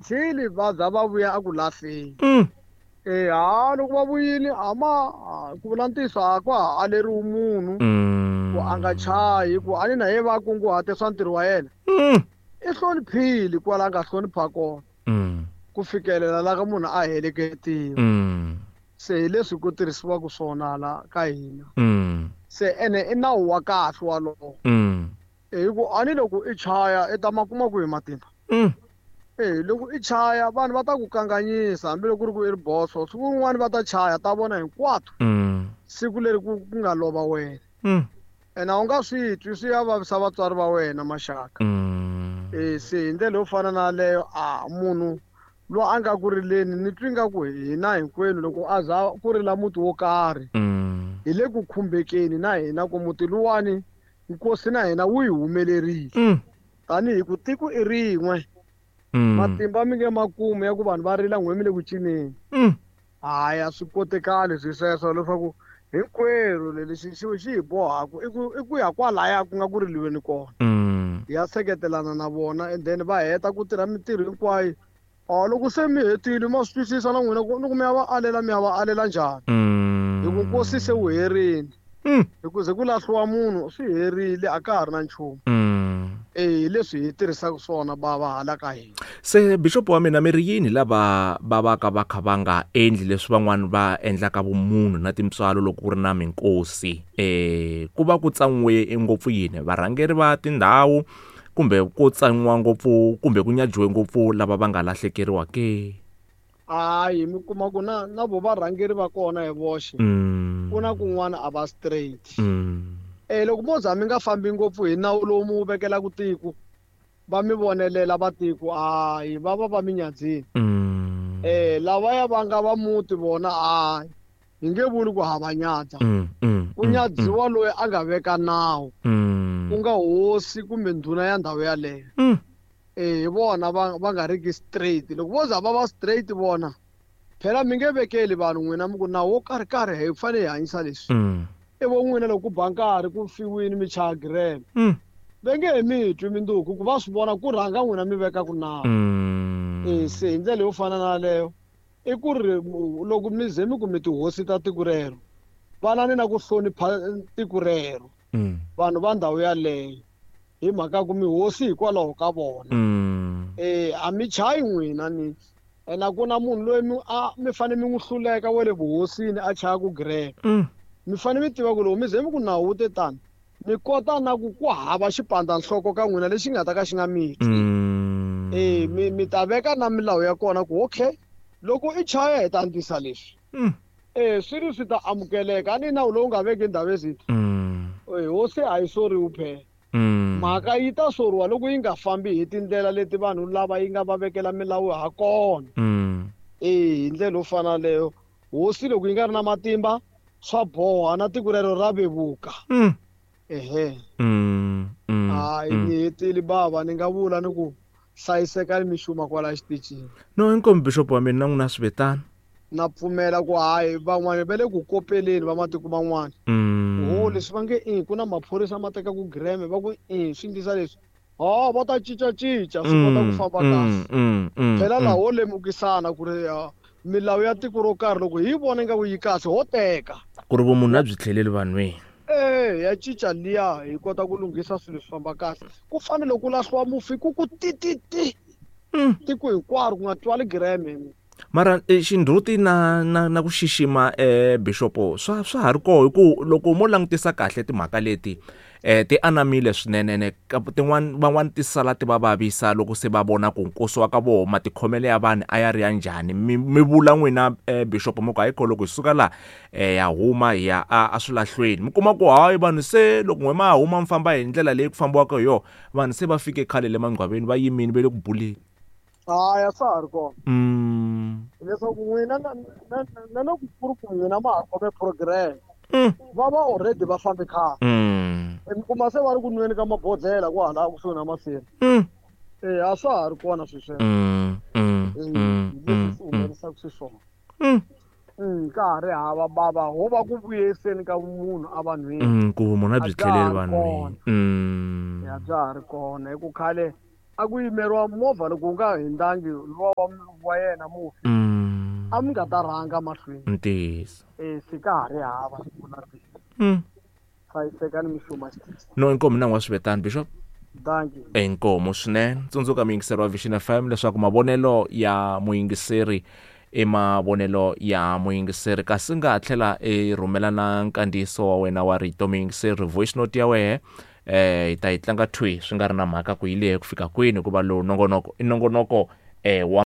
Till va za va vuya a ku lahleni. E ha loko va vuyile a ma ku vula ntiyiso a kwa ha aleriwi munhu ku a nga chayi ku a ni na ye va kunguhate swa ntirho wa yena. I hloniphile kwala a nga hlonipha kona ku fikelela la ka munhu a heleketiwa. Se hi leswi ku tirhisiwaka swona la ka hina. Se ene i nawu wa kahle walowo. Hi ku a ni loko i chaya i ta ma kuma kwihi matimba? E loko i chaya vanhu va ta ku kanganyisa hambiloko ku ri ku i ri boso siku rin'wana va ta chaya ta vona hinkwato siku leri ku nga lova wena. Ene a wu nga swi twi swi ya vavisa vatswari va wena maxaka. E se hi ndlela yo fana na yaleyo a munhu loyi a nga ku rileni ni twi nga ku hina hinkwenu loko a za ku rila muti wo karhi hi le ku khumbekeni na hina ku muti luwani nkosi na hina wu hi humelerile. Tanihi ku tiko i rin'we. Matimba mi nge makumu ya ku vanhu va rila n'we mi le ku cineni. Hayi a swi kotekali swi sweswo leswaku hinkwerhu lexi xi hi bohaka i ku ya kwalaya ku nga ku riliweni kona. Hi ya seketelana na vona and then va heta ku tirha mintirho hinkwayo. Loko se mi hetile ma swi twisisa na n'wina ku loko mi ya va alela mi ya va alela njhani. Hi ku nkosi se wu herile. Hi ku ze ku lahliwa munhu swi herile a ka ha ri na nchumu. E leswi hi tirhisaka swona bava hala ka hina. Se bishop wa mina mi ri yini lava va va ka va kha va nga endli leswi van'wana va endlaka vumunhu na tintswalo loko ku ri na minkosi? Ku va ku tsan'we ngopfu yini varhangeri va tindhawu kumbe ku tsan'wiwa ngopfu kumbe ku nyajiwe ngopfu lava va nga lahlekeriwa ke? Hayi mi kuma ku na na vo varhangeri va kona hi voxe ku na kun'wana a va straight. E loko mo za mi nga fambi ngopfu hi nawu lowu mi wu vekelaka tiko va mi vonelela va tiko hayi va va va mi nyadzini. Lavaya va nga va muti vona hayi hi nge vuli ku ha va nyadza. Ku nyadziwa loyi a nga veka nawu ku nga hosi kumbe ndhuna ya ndhawu yaleyo. Hi vona va nga riki straight. Loko vo za va va straight vona phela mi nge vekeli vanhu n'wina mi ku nawu wo karhi karhi hi fanele hi hanyisa leswi. I vo n'wina loko ku ba nkarhi ku fiwini mi chaya gireme va nge he mi twi minduku ku va swi vona ku rhanga n'wina mi vekaku nawu. Se hi ndlela yo fana na yaleyo i ku ri loko mi ze mi ku mi tihosi ta tiko rero vanani na ku hlonipha tiko rero vanhu va ndhawu yaleyo hi mhaka ku mi hosi hikwalaho ka vona. A mi chayi n'wina ni ene a ku na munhu loyi mi fanele mi n'wi hluleka wa le vuhosini a chaya ku gireme. Mi fanele mi tiva ku loko mi ze mi ku nawu wu te tani mi kota na ku ku hava xipandza-nhloko ka n'wina lexi nga ta ka xi nga mi twi. Mi ta veka na milawu ya kona ku okay loko i chaya hi ta antswisa leswi. Swi ri swi ta amukeleka a ni nawu lowu nga veki ndhawu ezitha. Hosi a yi soriwi phela. Mhaka yi ta soriwa loko yi nga fambi hi tindlela leti vanhu lava yi nga va vekela milawu ha kona. Hi ndlela yo fana leyo hosi loko yi nga ri na matimba swa boha na tiko rero ra vevuka. Ehe. Hayi ni hetile bava ni nga vula ni ku hlayiseka ni mixuma kwala xitichini. No inkomu bishop wa mina na n'wina swi vetana. Na pfumela ku hayi van'wana va le ku kopeleni va matiko man'wana. Ho leswi va nge i ku na maphorisa ma teka ku gireme va ku i swi endlisa leswi. Ha va ta cincacinca swi kota ku famba kahle. Phela laha ho lemukisana ku ri milawu ya tiko ro karhi loko hi vona ingaku yi kahle ho teka. Ku ri vumunhu a byi tlheleli vanhwini. Ya cinca liya hi kota ku lunghisa swilo swi famba kahle. Ku fanele ku lahliwa mufi ku ku tititi. Tiko hinkwaro ku nga twali gireme. Mara xindzhuti na ku xixima bishop swa ha ri koho hi ku loko mo langutisa kahle timhaka leti ti anamile swinene ene tin'wana van'wani ti sala ti va vavisa loko se va vona ku nkosi wa ka voho matikhomelo ya vanhu a ya ri ya njhani. Mi vula n'wina bishop mi ku hayi kho loko hi suka laha ya huma hi ya a swilahlweni mi kuma ku hayi vanhu se loko n'we ma huma mi famba hi ndlela leyi ku fambiwaka hi yona vanhu se va fike khale le mangcwaveni va yimile va le ku buleni. Hayi a swa ha ri kona. Leswaku n'wina na loko ku ri ku n'wina ma ha khome program va va already va fambe khale. Mi kuma se va ri ku nweni ka mabodhlela kwahala kusuhi na masirha. A swa ha ri kona swilo sweswo. Leswi swi humelisaka xiswona. Ka ha ri hava bava ho va ku vuyiseni ka munhu a vanhwini. Ku vumunhu a byi tlheleli vanhwini. Ya bya ha ri kona hi ku khale. A ku yimeriwa movha loko wu nga hindhangi luwa wa yena mufi. A mi nga ta rhanga mahlweni. Ntiyiso. Se ka ha ri hava siku na rin'we. Hlayisekani mixuma xitisi. No inkomu na n'wa swivetani bishop. Dankie. Inkomu swinene. Tsundzuka muyingiseri wa Vision FM leswaku mavonelo ya muyingiseri i mavonelo ya muyingiseri kasi nga tlhela i rhumela na nkandziyiso wa wena wa rito muyingiseri voice note ya wehe eh hi ta yi tlanga thwi swi nga ri na mhaka ku yi lehe ku fika kwini hikuva lowu nongonoko i nongonoko eh wa.